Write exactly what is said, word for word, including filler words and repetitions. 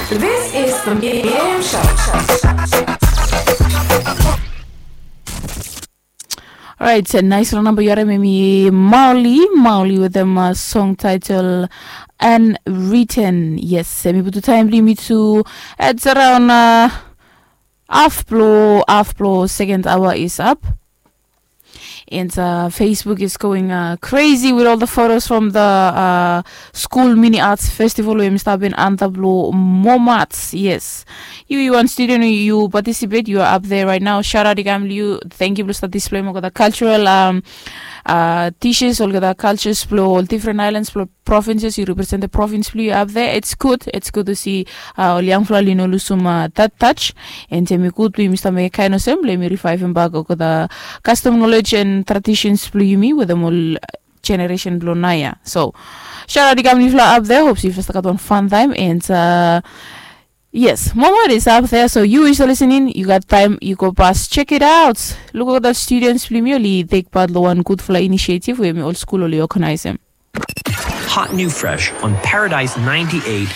This is the Miam Show. Alright, naisfala namba yu harim, hemi Mauli, Mauli wetem song title Unwritten. Yes, hemi putum taem blong yumi tu, it's around haf blong haf blong second hour is up. And uh, Facebook is going uh, crazy with all the photos from the uh, school mini arts festival we hemi stap antap long Momats. Yes, yu yu wan student, yu participate, yu are up there right now. Shout out i kam long yu. Thank you blong start display olgeta cultural um, uh, dishes, olgeta cultures blong ol different islands, blong provinces. Yu represent the province blong yu up there. It's good, it's good to see uh, ol yangfala oli no lusum uh, that touch. And hemi gud blong yumi stap mekem kaen olsem blong yumi revivem bak olgeta custom knowledge and traditions blong yumi wetem ol generation blong naoia. So shout out i kam long yufala up there. Hope yufala stap gat wan fun time. And uh, yes, Momats is up there. So yu yu stap listening, yu gat taem yu go pas check it out. Luk olgeta students blong yumi oli take part long wan gudfala initiative we hemi ol skul oli organizem. Hot new fresh on Paradise ninety-eight